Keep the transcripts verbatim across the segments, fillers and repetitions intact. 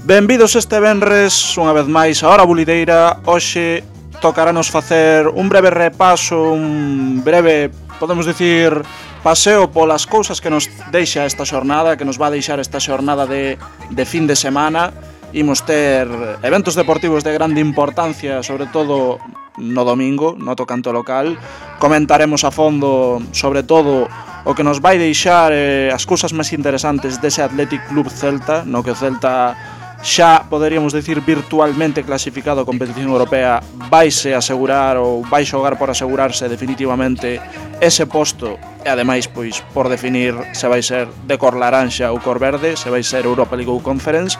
Benvidos este venres, unha vez máis a Hora Bulideira. Hoxe tocaranos facer un breve repaso, un breve, podemos dicir, paseo polas cousas que nos deixa esta xornada, que nos va a deixar esta xornada de, de fin de semana. Imos ter eventos deportivos de grande importancia, sobre todo no domingo, no tocanto local. Comentaremos a fondo, sobre todo, o que nos vai deixar eh, as cousas máis interesantes dese Athletic Club Celta, no que o Celta xa poderíamos decir virtualmente clasificado a competición europea, vaise asegurar ou vai xogar por asegurarse definitivamente ese posto, e ademais pois por definir se vai ser de cor laranxa ou cor verde, se vai ser Europa League ou Conference.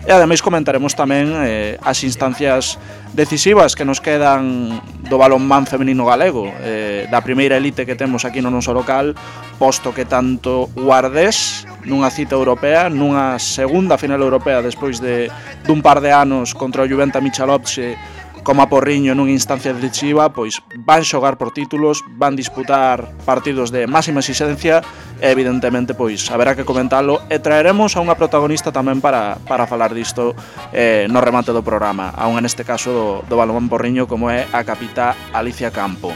E ademais comentaremos tamén eh, as instancias decisivas que nos quedan do balonmán femenino galego, eh, da primeira elite que temos aquí no noso local, posto que tanto Guardés nunha cita europea, nunha segunda final europea despois de dun par de anos contra o Juventa Michalovce, como a Porriño nunha instancia decisiva, pois van xogar por títulos, van disputar partidos de máxima exigencia e evidentemente pois haberá que comentalo e traeremos a unha protagonista tamén para, para falar disto eh, no remate do programa, aún neste caso do, do balonmán Porriño, como é a capitá Alicia Campo.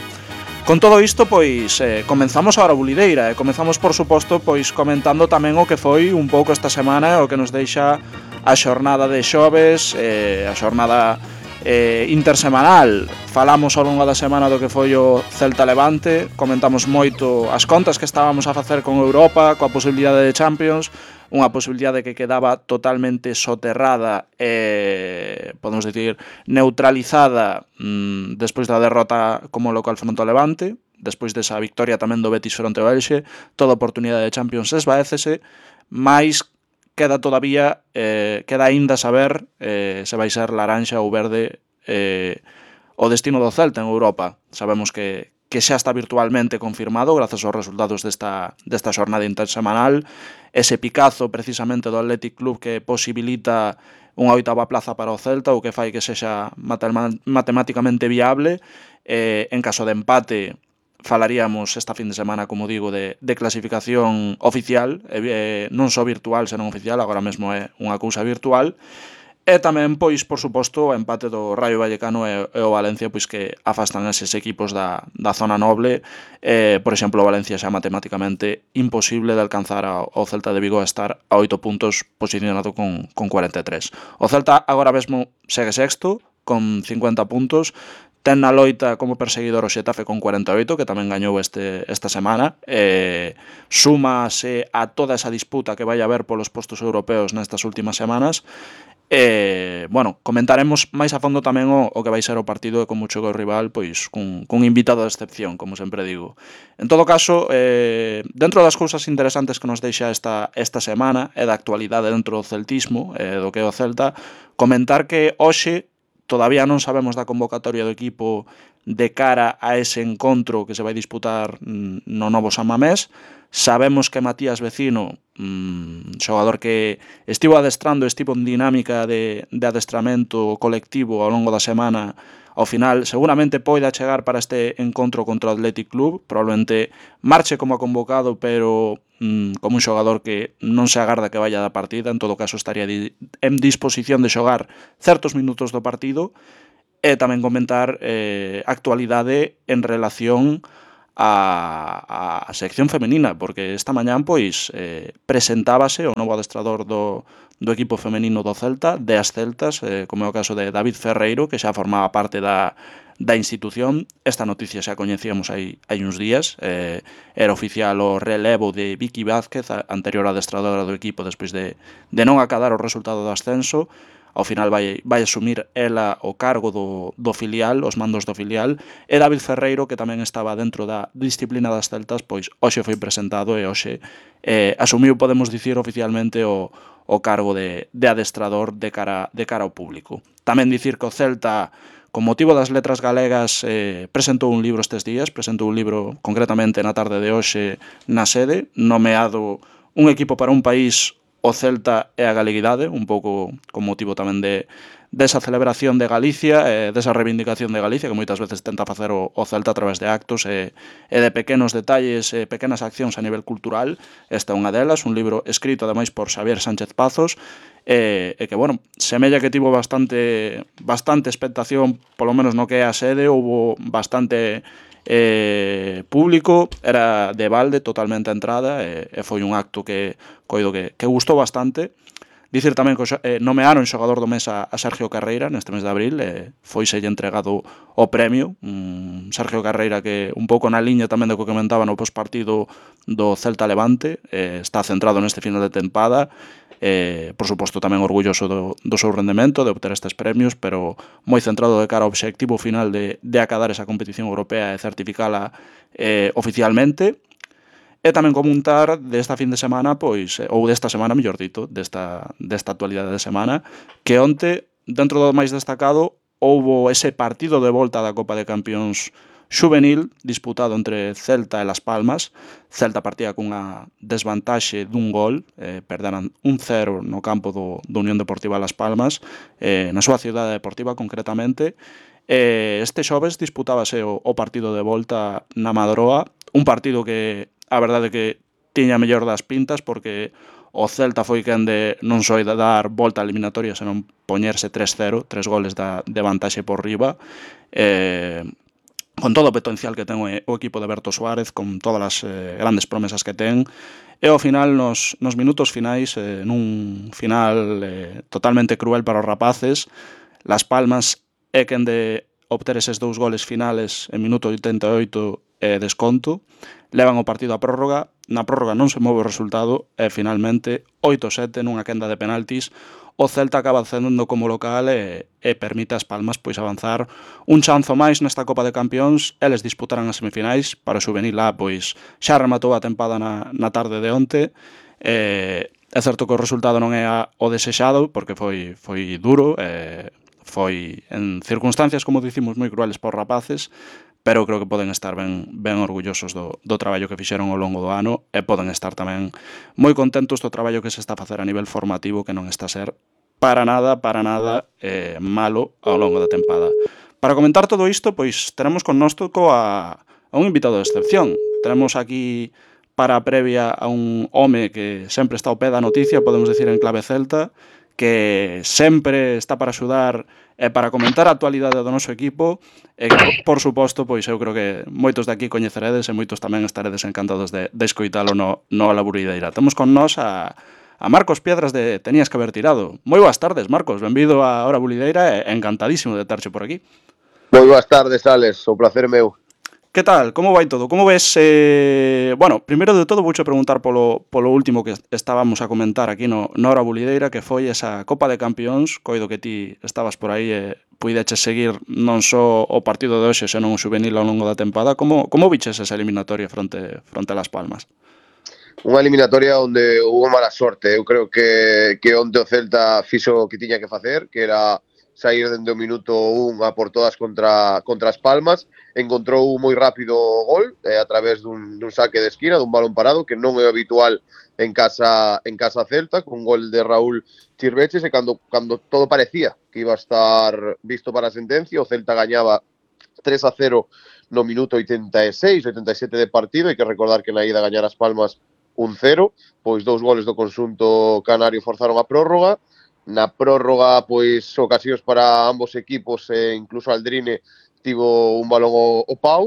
Con todo isto, pois, eh, comenzamos a Hora Bulideira e comenzamos, por suposto, pois comentando tamén o que foi un pouco esta semana, o que nos deixa a xornada de xoves, eh, a xornada eh, intersemanal. Falamos ao longo da semana do que foi o Celta Levante, comentamos moito as contas que estábamos a facer con Europa, coa posibilidade de Champions, unha posibilidade que quedaba totalmente soterrada e, podemos dicir, neutralizada mmm, despois da derrota como local fronte ao Levante, despois desa victoria tamén do Betis fronte ao Elxe. Toda oportunidade de Champions esvaécese, mais queda todavía, eh, queda aínda saber eh, se vai ser laranxa ou verde eh, o destino do Celta en Europa. Sabemos que que xa está virtualmente confirmado grazas aos resultados desta, desta xornada intersemanal, ese picazo precisamente do Athletic Club que posibilita unha oitava plaza para o Celta, o que fai que sexa matemáticamente viable. Eh, en caso de empate falaríamos esta fin de semana, como digo, de, de clasificación oficial, eh, non só virtual, senón oficial, agora mesmo é unha cousa virtual. E tamén, pois, por suposto, o empate do Rayo Vallecano e, e o Valencia, pois que afastan eses equipos da, da zona noble. Eh, por exemplo, o Valencia xa matemáticamente imposible de alcanzar ao, ao Celta de Vigo a estar a oito puntos posicionado con, con cuarenta e tres. O Celta agora mesmo segue sexto, con cincuenta puntos, ten na loita como perseguidor o Xetafe con cuarenta e oito, que tamén gañou este, esta semana. Eh, súmase a toda esa disputa que vai haber polos postos europeos nestas últimas semanas. E, bueno, comentaremos máis a fondo tamén o, o que vai ser o partido e como chega o rival, pois cun, cun invitado de excepción, como sempre digo. En todo caso, eh, dentro das cousas interesantes que nos deixa esta, esta semana e da actualidade dentro do celtismo, eh, do que é o Celta, comentar que hoxe todavía non sabemos da convocatoria do equipo de cara a ese encontro que se vai disputar no novo San Mamés. Sabemos que Matías Vecino, mmm, xogador que estivo adestrando, estivo en dinámica de, de adestramento colectivo ao longo da semana, ao final seguramente poida chegar para este encontro contra o Athletic Club, probablemente marche como convocado, pero mmm, como un xogador que non se agarda que vaya da partida, en todo caso estaría di- en disposición de xogar certos minutos do partido. E tamén comentar eh, actualidade en relación a, a sección femenina, porque esta mañán pois eh, presentábase o novo adestrador do, do equipo femenino do Celta, de as Celtas, eh, como é o caso de David Ferreiro, que xa formaba parte da, da institución. Esta noticia xa coñecíamos hai, hai uns días, eh, era oficial o relevo de Vicky Vázquez, a anterior adestradora do equipo, despois de, de non acadar o resultado do ascenso. Ao final vai, vai asumir ela o cargo do, do filial, os mandos do filial, e David Ferreiro, que tamén estaba dentro da disciplina das Celtas, pois hoxe foi presentado e hoxe eh, asumiu, podemos dicir oficialmente, o, o cargo de, de adestrador de cara, de cara ao público. Tamén dicir que o Celta, con motivo das letras galegas, eh, presentou un libro estes días, presentou un libro concretamente na tarde de hoxe na sede, nomeado Un equipo para un país, o Celta e a galeguidade, un pouco con motivo tamén de desa celebración de Galicia, eh, desa reivindicación de Galicia, que moitas veces tenta facer o, o Celta a través de actos e, e de pequenos detalles, e pequenas accións a nivel cultural. Esta é unha delas, un libro escrito ademais por Xavier Sánchez Pazos, e, e que, bueno, semella que tivo bastante bastante expectación, polo menos no que é a sede, houbo bastante eh, público, era de balde totalmente a entrada, e, e foi un acto que coido que, que gustou bastante. Dicir tamén que eh, nomearon xogador do mes a, a Sergio Carreira neste mes de abril, e foiselle entregado o premio, um, Sergio Carreira que un pouco na liña tamén do que comentaba no postpartido do Celta Levante, eh, está centrado neste final de tempada, eh, por suposto tamén orgulloso do, do seu rendemento, de obter estes premios, pero moi centrado de cara ao obxectivo final de, de acadar esa competición europea e certificala eh, oficialmente. E tamén comentar desta fin de semana, pois, ou desta semana, mellor dito, desta, desta actualidade de semana, que onte, dentro do máis destacado, houbo ese partido de volta da Copa de Campións xuvenil disputado entre Celta e Las Palmas. Celta partía cunha desvantaxe dun gol, eh, perderan un cero no campo do, do Unión Deportiva Las Palmas, eh, na súa cidade deportiva concretamente. Eh, este xoves disputábase o, o partido de volta na Madroa, un partido que a verdade que tiña mellor das pintas, porque o Celta foi quen de non só de dar volta á eliminatoria, senón poñerse tres cero, tres goles da, de vantaxe por riba, eh, con todo o potencial que ten o equipo de Berto Suárez, con todas as eh, grandes promesas que ten, e ao final, nos, nos minutos finais, eh, nun final eh, totalmente cruel para os rapaces, Las Palmas é quen de obter eses dous goles finales en minuto oitenta e oito e desconto, levan o partido a prórroga, na prórroga non se move o resultado e finalmente oito sete nunha quenda de penaltis o Celta acaba cedendo como local e, e permite ás Palmas pois avanzar un chanzo máis nesta Copa de Campións. Eles disputarán as semifinais, para o xuvenil A pois xa rematou a tempada na, na tarde de onte. eh, é certo que o resultado non é a, o desexado, porque foi, foi duro, eh, foi en circunstancias, como dicimos, moi crueles por rapaces, pero creo que poden estar ben, ben orgullosos do, do traballo que fixeron ao longo do ano, e poden estar tamén moi contentos do traballo que se está a facer a nivel formativo, que non está a ser para nada, para nada eh, malo ao longo da tempada. Para comentar todo isto, pois teremos con nós toco a, a un invitado de excepción. Tenemos aquí para a previa a un home que sempre está ao pé da noticia, podemos decir en clave celta, que sempre está para axudar e para comentar a actualidade do noso equipo, e que, por suposto, pois eu creo que moitos de aquí coñeceredes e moitos tamén estaredes encantados de, de escoitalo no, no La Burideira. Temos con nós a, a Marcos Piedras de Tenías que haber tirado. Moi boas tardes, Marcos, benvido a Hora Bulideira e encantadísimo de terche por aquí. Moi boas tardes, Alex, o placer meu. Que tal? Como vai todo? Como ves? Eh... Bueno, primeiro de todo vouche preguntar polo, polo último que estábamos a comentar aquí no, no Hora Bulideira, que foi esa Copa de Campións. Coido que ti estabas por aí e puideches seguir non só o partido de hoxe, senón o xuvenil ao longo da tempada. Como, como viches esa eliminatoria fronte, fronte a Las Palmas? Unha eliminatoria onde hubo mala sorte. Eu creo que, que onde o Celta fixo o que tiña que facer, que era sair dende o minuto un a por todas contra, contra as Palmas. Encontrou moi rápido o gol eh, a través dun, dun saque de esquina, dun balón parado, que non é habitual en casa en casa Celta, con un gol de Raúl Chirveches, e cando, cando todo parecía que iba a estar visto para a sentencia, o Celta gañaba tres a cero no minuto oitenta e seis, oitenta e sete de partido. Hai que recordar que na ida gañar as Palmas un cero, pois dous goles do conxunto canario forzaron a prórroga. Na prórroga, pois, ocasións para ambos equipos, e incluso Aldrine tivo un balón ao, ao pau,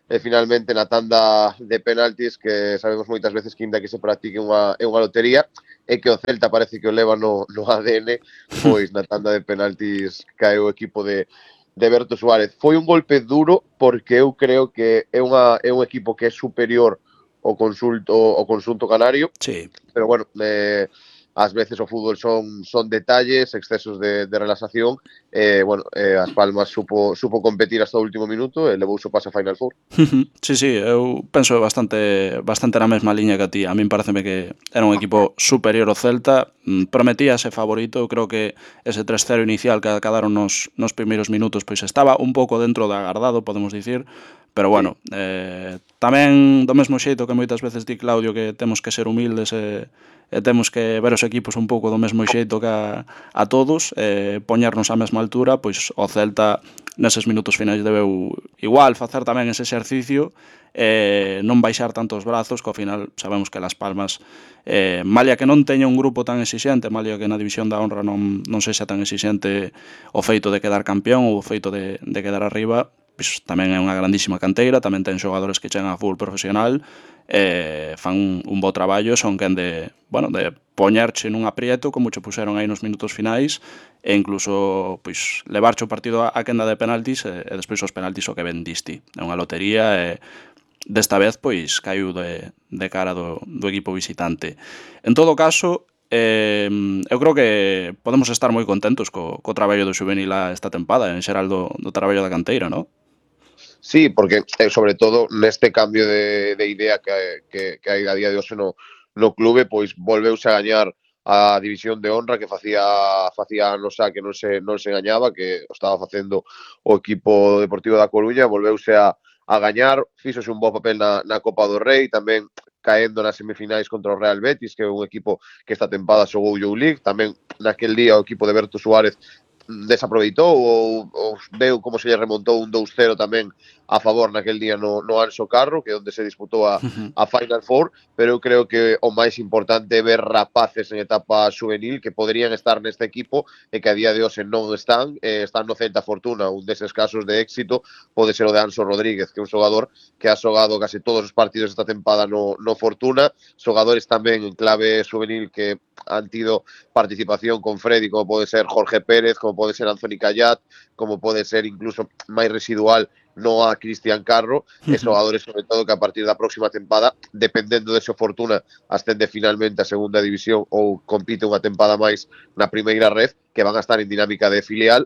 e finalmente na tanda de penaltis, que sabemos moitas veces que inda que se practique unha, é unha lotería, e que o Celta parece que o leva no, no A D N, pois na tanda de penaltis cae o equipo de, de Berto Suárez. Foi un golpe duro, porque eu creo que é, unha, é un equipo que é superior ao consulto, ao conxunto canario, sí. Pero bueno, eh, ás veces o fútbol son son detalles, excesos de, de relaxación. Eh, bueno, eh, as Palmas supo, supo competir hasta o último minuto e levou o paso a Final Four. Sí, sí, eu penso bastante bastante na mesma liña que a ti. A min pareceme que era un equipo superior ao Celta, prometía ser favorito. Eu creo que ese tres cero inicial que acadaron nos, nos primeiros minutos pois estaba un pouco dentro do agardado, podemos dicir, pero bueno, sí. eh, tamén do mesmo xeito que moitas veces di Claudio que temos que ser humildes e, e temos que ver os equipos un pouco do mesmo xeito que a, a todos, e poñernos á mesma altura, pois o Celta neses minutos finais debeu igual facer tamén ese exercicio, eh, non baixar tantos brazos, que ao final sabemos que Las Palmas, eh, malia que non teña un grupo tan exixente, malia que na división da honra non, non sexa tan exixente o feito de quedar campeón ou o feito de, de quedar arriba, pois tamén é unha grandísima canteira, tamén ten xogadores que chegan a fútbol profesional, eh, fan un, un bo traballo, son quen de, bueno, de poñerche nun aprieto, como che puseron aí nos minutos finais, e incluso pois levarche o partido a, a quenda de penaltis, e, e despois os penaltis o que vendisti. É unha lotería, e desta vez pois caiu de, de cara do, do equipo visitante. En todo caso, eh, eu creo que podemos estar moi contentos co, co traballo do xuvenil esta tempada, en xeral do, do traballo da canteira, non? Sí, porque eh, sobre todo neste cambio de, de idea que, que, que hai a día de hoxe no, no clube, pois volveuse a gañar a división de honra que facía facía anos xa que non se non se gañaba, que o estaba facendo o equipo deportivo da Coruña, volveuse a, a gañar, fíxose un bo papel na, na Copa do Rei, tamén caendo nas semifinais contra o Real Betis, que é un equipo que esta tempada xogou Youth League, tamén naquel día o equipo de Berto Suárez desaproveitou ou, ou veu como se lle remontou un dous cero tamén a favor naquel día no, no Anxo Carro, que é onde se disputou a, a Final Four, pero eu creo que o máis importante é ver rapaces en etapa juvenil que poderían estar neste equipo e que a día de hoxe non están, eh, están no Celta Fortuna, un deses casos de éxito pode ser o de Anso Rodríguez, que é un xogador que ha xogado case todos os partidos esta tempada no, no Fortuna, xogadores tamén en clave juvenil que han tido participación con Freddy, como pode ser Jorge Pérez, como pode ser Anthony Callat, como pode ser incluso máis residual no a Cristian Carro, e xogadores sobre todo que a partir da próxima tempada, dependendo de se Fortuna ascende finalmente a segunda división ou compite unha tempada máis na primeira red, que van a estar en dinámica de filial,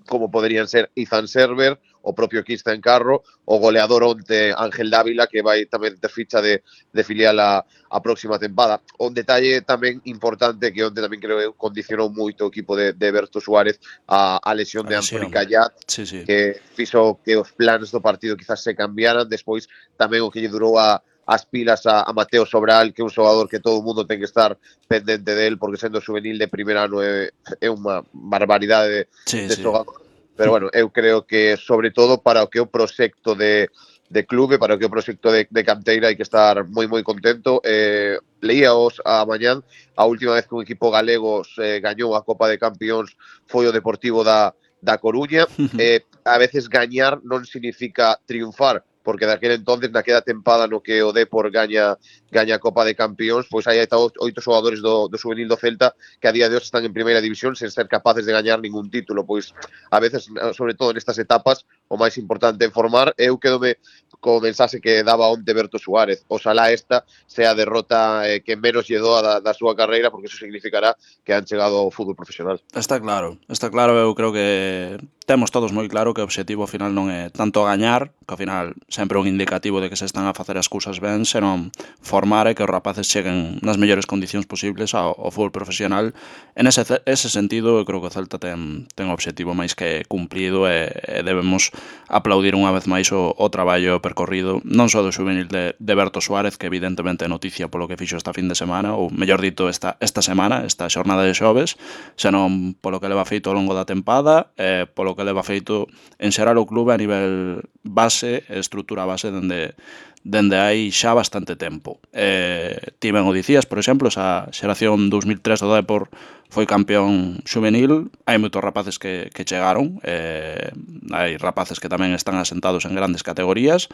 como poderían ser Izan Server, o propio Cristian Carro, o goleador onte Ángel Dávila, que vai tamén ter ficha de, de filial a, a próxima tempada. Un detalle tamén importante que onte tamén creo eu condicionou moito o equipo de, de Berto Suárez a, a lesión de Anthony Callat, sí, sí. que fixo que os planes do partido quizás se cambiaran, despois tamén o que lle durou a as pilas a, a Mateo Sobral, que é un xogador que todo o mundo ten que estar pendente del, porque sendo juvenil de primer ano é, é unha barbaridade de, sí, de sí. xogador. Pero bueno, eu creo que sobre todo para o que é o proxecto de, de clube, para o que é o proxecto de, de canteira, hai que estar moi moi contento. Eh, leíaos a mañán, a última vez que un equipo galego eh, gañou a Copa de Campións foi o Deportivo da, da Coruña. Eh, a veces gañar non significa triunfar, porque daquele entonces, naquela tempada no que o Depor gaña gaña a Copa de Campións, pois aí hai oito xogadores do, do juvenil do Celta que a día de hoxe están en primeira división sen ser capaces de gañar ningún título. Pois a veces, sobre todo nestas etapas, o máis importante é formar. Eu quedome co mensaxe que daba onte Berto Suárez: oxalá esta sea a derrota eh, que menos lle doa da, da súa carreira, porque iso significará que han chegado ao fútbol profesional. Está claro, está claro, eu creo que temos todos moi claro que o obxectivo ao final non é tanto gañar, que ao final sempre é un indicativo de que se están a facer as cousas ben, senón formar e que os rapaces cheguen nas mellores condicións posibles ao, ao fútbol profesional. En ese, ese sentido, eu creo que o Celta ten, ten o obxectivo máis que cumplido, e, e debemos aplaudir unha vez máis o, o traballo percorrido, non só do xuvenil de, de Berto Suárez, que evidentemente é noticia polo que fixo esta fin de semana, ou mellor dito esta, esta semana, esta xornada de xoves, senón polo que leva feito ao longo da tempada, e polo que leva feito en xeral o clube a nivel base, estrutura base, dende dende hai xa bastante tempo. Eh, ti ben o dicías, por exemplo, esa xeración dos mil tres do Depor foi campeón xuvenil, hai moitos rapaces que, que chegaron, eh, hai rapaces que tamén están asentados en grandes categorías,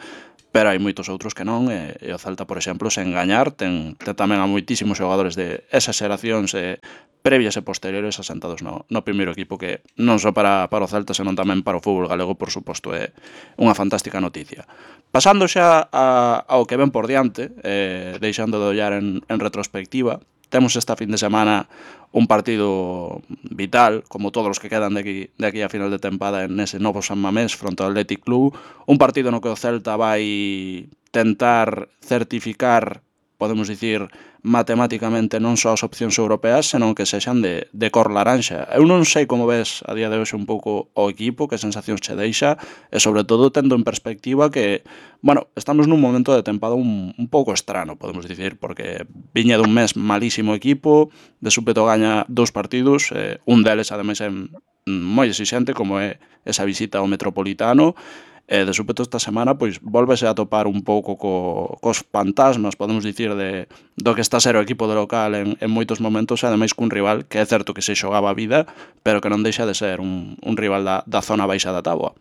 pero hai moitos outros que non, e, e o Celta, por exemplo, sen gañar, ten, ten tamén a moitísimos xogadores de esas xeracións eh, previas e posteriores asentados no, no primeiro equipo, que non só para, para o Celta, senón tamén para o fútbol galego, por suposto, é unha fantástica noticia. Pasando xa a, ao que ven por diante, eh, deixando de ollar en, en retrospectiva, temos esta fin de semana un partido vital, como todos os que quedan de aquí, de aquí a final de tempada, en ese novo San Mamés fronte ao Athletic Club, un partido no que o Celta vai tentar certificar, podemos dicir, matemáticamente non só as opcións europeas, senón que sexan de, de cor laranxa. Eu non sei como ves a día de hoxe un pouco o equipo, que sensacións che deixa, e sobre todo tendo en perspectiva que, bueno, estamos nun momento de tempada un, un pouco estrano, podemos dicir, porque viña dun mes malísimo equipo, de súpeto gaña dous partidos, eh, un deles ademais en, moi exixente, como é esa visita ao Metropolitano. E de súpeto esta semana pois volvese a topar un pouco co, cos fantasmas, podemos dicir, de, do que está a ser o equipo de local en, en moitos momentos, e ademais cun rival que é certo que se xogaba a vida, pero que non deixa de ser un, un rival da, da zona baixa da táboa.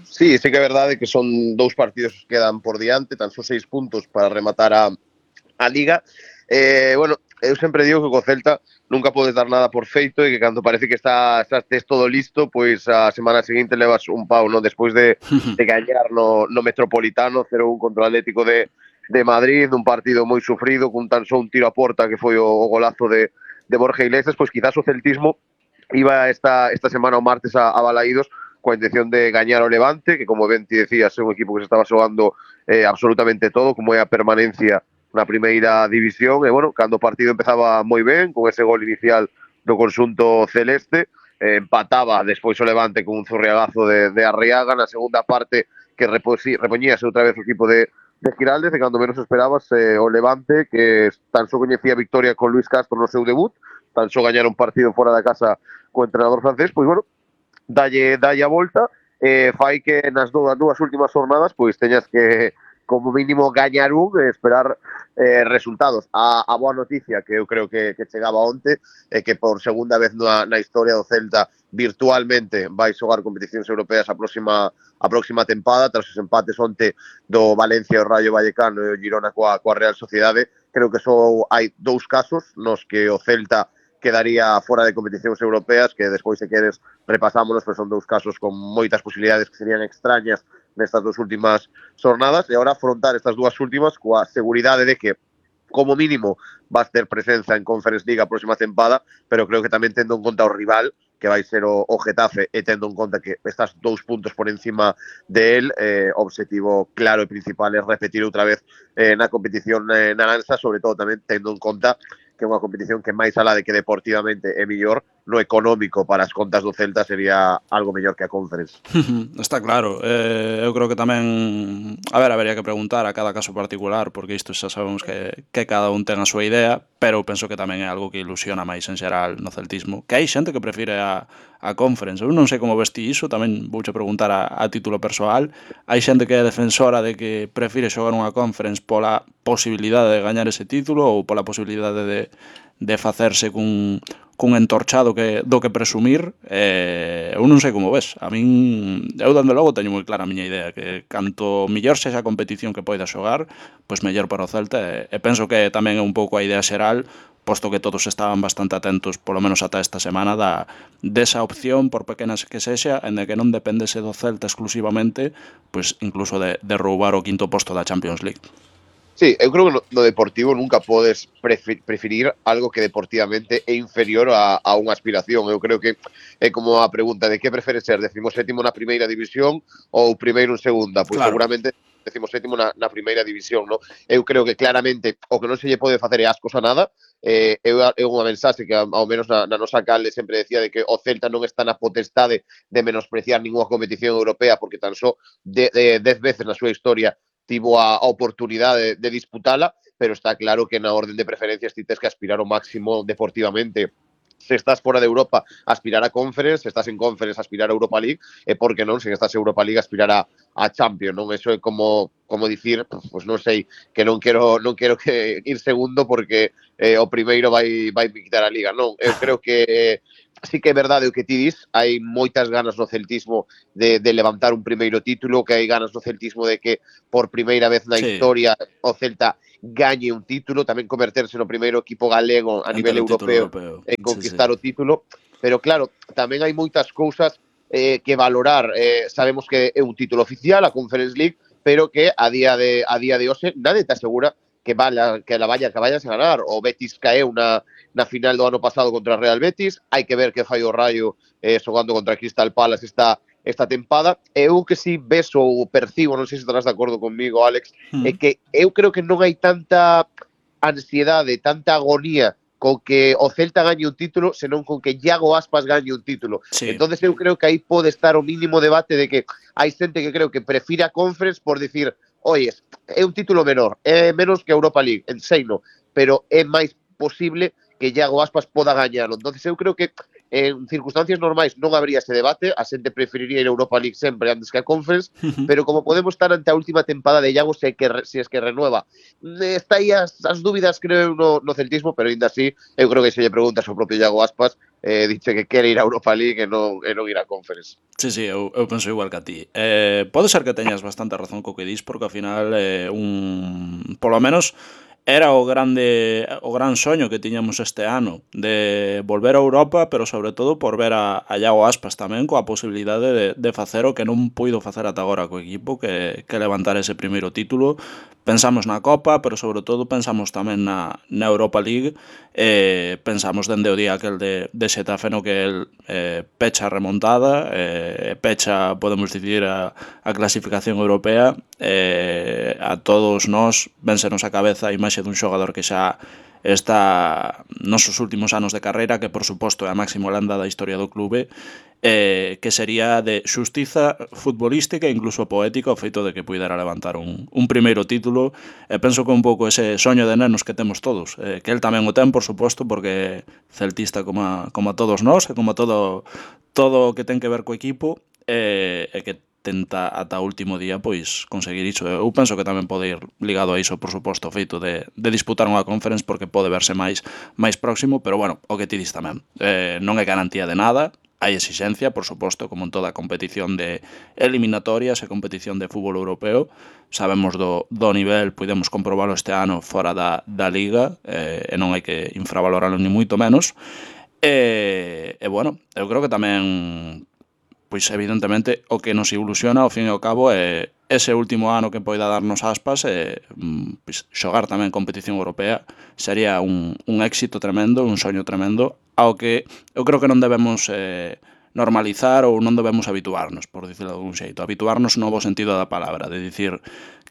Sí, sí que é verdade que son dous partidos que quedan por diante, tan só seis puntos para rematar a, a Liga. Eh, bueno, eu sempre digo que co Celta nunca podes dar nada por feito e que cando parece que está, estás tes todo listo, pois a semana seguinte levas un pau, non? Despois de, de gañar no, no Metropolitano cero un contra o Atlético de, de Madrid, un partido moi sufrido, cun tan só un tiro a porta que foi o, o golazo de, de Borja Iglesias, pois quizás o celtismo iba esta, esta semana o martes a, a Balaídos coa intención de gañar o Levante, que como ben ti decías é un equipo que se estaba xogando eh, absolutamente todo, como é a permanencia na primeira división, e bueno, cando o partido empezaba moi ben, con ese gol inicial do conxunto celeste, eh, empataba despois o Levante con un zurriagazo de, de Arriaga, na segunda parte que repoñíase outra vez o equipo de, de Giraldez, e cando menos esperabas eh, o Levante, que tan só coñecía a victoria con Luis Castro no seu debut, tan só gañar un partido fora da casa co entrenador francés, pois bueno, dalle, dalle a volta, eh, fai que nas dúas, dúas últimas jornadas pois teñas que como mínimo gañar un e esperar eh, resultados. A, a boa noticia que eu creo que, que chegaba onte é que por segunda vez na, na historia do Celta virtualmente vai xogar competicións europeas a próxima a próxima tempada, tras os empates onte do Valencia, o Rayo Vallecano e o Girona coa, coa Real Sociedade. Creo que só hai dous casos nos que o Celta quedaría fora de competicións europeas, que despois, se queres, repasámonos, pero son dous casos con moitas posibilidades que serían extrañas nestas dúas últimas jornadas, e agora afrontar estas dúas últimas coa seguridade de que, como mínimo, vas ter presenza en Conference League a próxima tempada, pero creo que tamén tendo en conta o rival, que vai ser o, o Getafe, e tendo en conta que estás dous puntos por encima de él, eh, o objetivo claro e principal é repetir outra vez eh, na competición eh, naranxa, sobre todo tamén tendo en conta que é unha competición que máis alá de que deportivamente é mellor, no económico para as contas do Celta sería algo mellor que a Conference. Está claro, eh, eu creo que tamén, a ver, habería que preguntar a cada caso particular, porque isto xa sabemos que, que cada un ten a súa idea, pero eu penso que tamén é algo que ilusiona máis en xeral no celtismo, que hai xente que prefire a, a Conference. Eu non sei como vesti iso, tamén vouche preguntar a, a título persoal. Hai xente que é defensora de que prefire xogar unha Conference pola posibilidade de gañar ese título ou pola posibilidade de, de facerse cun, cun entorchado que, do que presumir. Eh, eu non sei como ves. A min, eu dando logo teño moi clara a miña idea, que canto mellor sexa a competición que poida xogar, pois mellor para o Celta, e, e penso que tamén é un pouco a idea xeral, posto que todos estaban bastante atentos, polo menos ata esta semana, da, desa opción, por pequenas que sexa, en de que non dependese do Celta exclusivamente, pois incluso de, de roubar o quinto posto da Champions League. Sí, eu creo que no, no deportivo nunca podes preferir algo que deportivamente é inferior a, a unha aspiración. Eu creo que é como a pregunta de que prefere ser decimosétimo na primeira división ou primeiro en segunda. Pois claro, seguramente decimosétimo na, na primeira división, no? Eu creo que claramente o que non se lle pode facer é ascos a nada. Eh, é unha mensaxe que ao menos na, na nosa calde sempre decía de que o Celta non está na potestade de menospreciar ninguna competición europea, porque tan só de, de, dez veces na súa historia tivo a, a oportunidade de, de disputala, pero está claro que na orden de preferencias ti tes que aspirar ao máximo deportivamente. Se estás fora de Europa, aspirar a Conference, se estás en Conference, aspirar a Europa League, e por que non, se estás en Europa League, aspirar a, a Champions, non? Eso é como como dicir, pois non sei, que non quero non quero que ir segundo porque eh, o primeiro vai vai quitar a Liga, non? Eu creo que eh, sí que é verdade o que ti dis, hai moitas ganas no celtismo de, de levantar un primeiro título, que hai ganas no celtismo de que por primeira vez na sí. historia o Celta gañe un título, tamén converterse no primeiro equipo galego a nivel europeo, europeo e conquistar sí, sí. o título, pero claro, tamén hai moitas cousas eh, que valorar. Eh, sabemos que é un título oficial, a Conference League, pero que a día de a día de hoxe nadie te asegura que vaya, que la vaya que vayas a ganar. O Betis caeu na, na final do ano pasado contra o Real Betis, hai que ver que fai o Rayo eh, xogando contra Crystal Palace esta esta tempada. Eu que si ves ou percibo, non sei se estarás de acordo conmigo, Alex, mm. é que eu creo que non hai tanta ansiedade, tanta agonía con que o Celta gañe un título, senón con que Iago Aspas gañe un título. Sí. Entonces eu creo que aí pode estar o mínimo debate de que hai xente que creo que prefire a Conference por decir, oyes, é un título menor, é menos que a Europa League, en seino, pero é máis posible que Iago Aspas poda gañalo. Entonces eu creo que en circunstancias normais non habría ese debate, a xente preferiría ir a Europa League sempre antes que a Conference, pero como podemos estar ante a última tempada de Iago, se, que, se es que renueva, está aí as, as dúbidas, creo, no, no celtismo, pero ainda así, eu creo que se lle preguntas ao propio Iago Aspas, eh, dice que quere ir a Europa League e non, e non ir a Conference. Sí, sí, eu, eu penso igual que a ti. Eh, pode ser que teñas bastante razón co que dis, porque ao final eh, un... Polo menos era o grande o gran soño que tiñamos este ano de volver a Europa, pero sobre todo por ver a, a Iago Aspas tamén coa posibilidade de, de facer o que non puido facer ata agora co equipo, que, que levantar ese primeiro título. Pensamos na Copa, pero sobre todo pensamos tamén na, na Europa League. Eh, pensamos dende o día aquel de, de Xetafe no que el eh, pecha a remontada, eh, pecha, podemos dicir, a, a clasificación europea. Eh, a todos nós vénsenos a cabeza a imaxe dun xogador que xa está nos seus últimos anos de carreira, que por suposto é a máxima lenda da historia do clube, eh, que sería de xustiza futbolística e incluso poética o feito de que puidera levantar un, un primeiro título. E penso que un pouco ese soño de nenos que temos todos, eh, que el tamén o ten, por suposto, porque celtista como a, como a todos nós, e como a todo todo o que ten que ver co equipo, e, e que tenta ata o último día pois conseguir iso. Eu penso que tamén pode ir ligado a iso, por suposto, o feito de, de disputar unha conference, porque pode verse máis máis próximo, pero bueno, o que ti dis tamén, eh, non é garantía de nada. Hai exixencia, por suposto, como en toda competición de eliminatorias e competición de fútbol europeo. Sabemos do, do nivel, podemos comprobalo este ano fora da, da Liga, eh, e non hai que infravaloralo ni moito menos. E, e bueno, eu creo que tamén, pois evidentemente, o que nos ilusiona ao fin e ao cabo é ese último ano que poida darnos Aspas, e pois, xogar tamén competición europea sería un, un éxito tremendo, un soño tremendo, ao que eu creo que non debemos eh, normalizar ou non debemos habituarnos, por dicirlo de algún xeito. Habituarnos no bo sentido da palabra, de dicir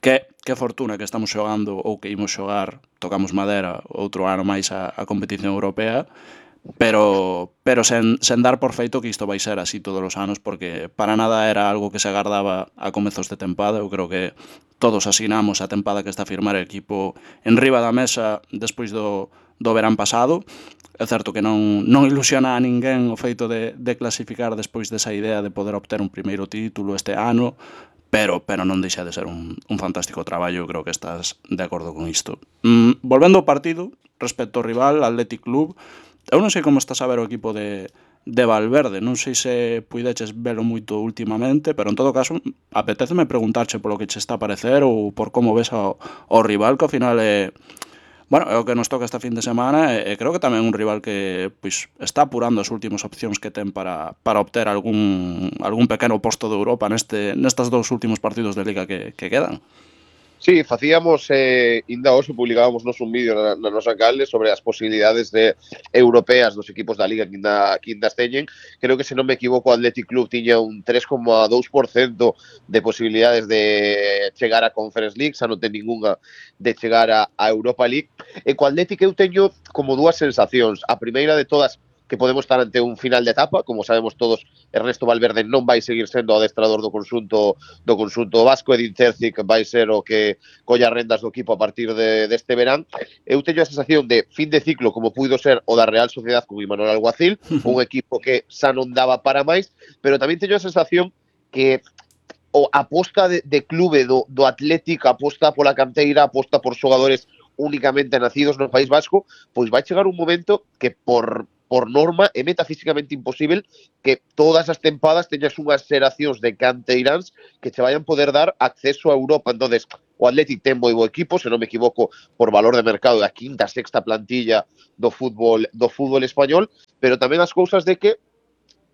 que, que fortuna que estamos xogando ou que imos xogar, tocamos madera, outro ano máis a, a competición europea, pero pero sen, sen dar por feito que isto vai ser así todos os anos, porque para nada era algo que se agardaba a comezos de tempada. Eu creo que todos asinamos a tempada que está a firmar o equipo en riba da mesa despois do, do verán pasado. É certo que non, non ilusiona a ninguén o feito de, de clasificar despois desa idea de poder obter un primeiro título este ano, pero pero non deixa de ser un, un fantástico traballo. Eu creo que estás de acordo con isto. Mm, volvendo ao partido, respecto ao rival, Athletic Club, eu non sei como estás a ver o equipo de, de Valverde, non sei se puideches velo moito últimamente, pero en todo caso apetéceme preguntarche polo que che está a parecer ou por como ves ao, ao rival, que ao final é, bueno, é o que nos toca esta fin de semana, e, e creo que tamén un rival que pois, está apurando as últimas opcións que ten para, para obter algún, algún pequeno posto de Europa neste, nestas dous últimos partidos de Liga que, que quedan. Sí, facíamos, eh, inda hoxe publicábamos nos un vídeo na, na nosa calde sobre as posibilidades de europeas dos equipos da Liga que inda, que inda teñen. Creo que, se non me equivoco, o Athletic Club tiña un tres coma dous por cento de posibilidades de chegar a Conference League, xa non ten ninguna de chegar a, a Europa League. E co Athletic eu teño como dúas sensacións. A primeira de todas, que podemos estar ante un final de etapa, como sabemos todos, Ernesto Valverde non vai seguir sendo o adestrador do conxunto do conxunto vasco, Edin Terzic vai ser o que colla rendas do equipo a partir de deste verán. Eu teño a sensación de fin de ciclo, como puido ser o da Real Sociedad con Imanol Alguacil, un equipo que xa non daba para máis, pero tamén teño a sensación que o aposta de, de clube do, do Athletic, aposta pola canteira, aposta por xogadores únicamente nacidos no País Vasco, pois vai chegar un momento que por por norma é metafísicamente imposible que todas as tempadas teñas unhas xeracións de canteiráns que che vayan poder dar acceso a Europa. Entonces, o Athletic ten moi bo equipo, se non me equivoco, por valor de mercado da quinta, sexta plantilla do fútbol do fútbol español, pero tamén as cousas de que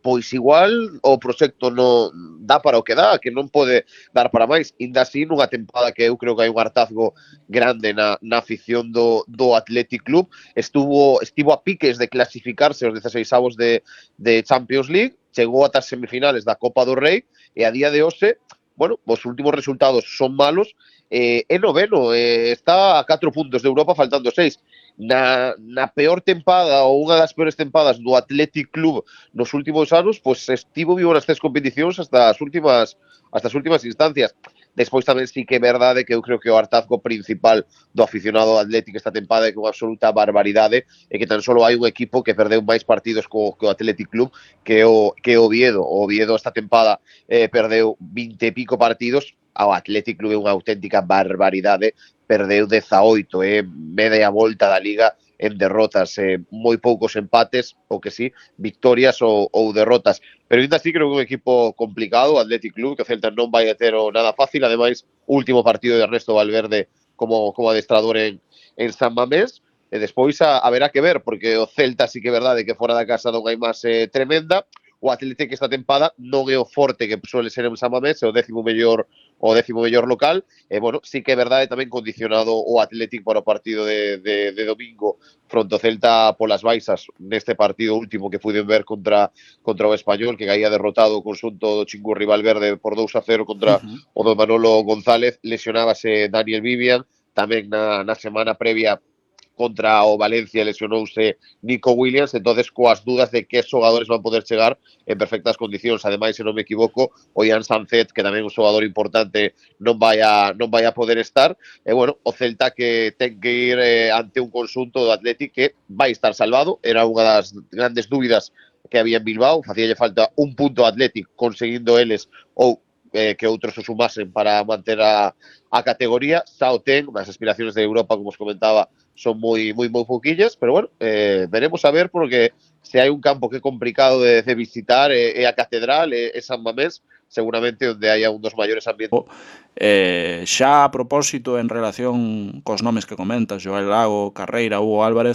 pois igual o proxecto non dá para o que dá, que non pode dar para máis. Inda así, nunha tempada que eu creo que hai un hartazgo grande na, na afición do, do Athletic Club, estuvo estivo a piques de clasificarse aos dezasseisavos de, de Champions League, chegou ata as semifinales da Copa do Rei, e a día de hoxe, bueno, os últimos resultados son malos, eh, é noveno, eh, está a catro puntos de Europa, faltando seis. Na, na peor tempada ou unha das peores tempadas do Athletic Club nos últimos anos, pois estivo vivo nas tres competicións hasta as últimas hasta as últimas instancias. Despois tamén sí que é verdade que eu creo que o hartazgo principal do aficionado Atlético esta tempada é que unha absoluta barbaridade e que tan solo hai un equipo que perdeu máis partidos co, co Athletic Club que o, que o Oviedo. O Oviedo esta tempada eh, perdeu vinte e pico partidos, ao Athletic Club é unha auténtica barbaridade, perdeu dezaoito, é eh, media volta da Liga en derrotas, eh, moi poucos empates, o que sí, victorias ou, ou derrotas. Pero ainda así creo que é un equipo complicado, o Athletic Club, que o Celta non vai a ter o nada fácil, ademais, último partido de Ernesto Valverde como, como adestrador en, en San Mamés, e despois a, a verá que ver, porque o Celta sí que é verdade que fora da casa non hai máis eh, tremenda, o Atlético esta tempada non é o forte que suele ser en San Mamés, é o décimo mellor o décimo mellor local, e, bueno, sí que é verdade tamén condicionado o Atlético para o partido de, de, de domingo fronte ao Celta polas baixas neste partido último que puiden ver contra, contra o Español, que caía derrotado o conxunto do Chingurri Valverde por dous a cero contra Uh-huh. o do Manolo González, lesionábase Daniel Vivian, tamén na, na semana previa contra o Valencia lesionouse Nico Williams, entonces coas dudas de que xogadores van poder chegar en perfectas condicións. Ademais, se non me equivoco, o Ian Sancet, que tamén é un xogador importante, non vai a, non vai a poder estar. E, bueno, o Celta que ten que ir eh, ante un conxunto do Athletic que vai estar salvado. Era unha das grandes dúbidas que había en Bilbao. Facíalle falta un punto ao Athletic conseguindo eles ou eh, que outros o sumasen para manter a, a categoría. Xa o ten, as aspiracións de Europa, como os comentaba, son moi moi moi pouquillas, pero bueno, eh, veremos a ver, porque se hai un campo que é complicado de, de visitar é, é a Catedral, é, é San Mamés, seguramente onde haya un dos maiores ambientes. Eh, xa a propósito en relación cos nomes que comentas, Joel Lago, Carreira, Hugo Álvarez,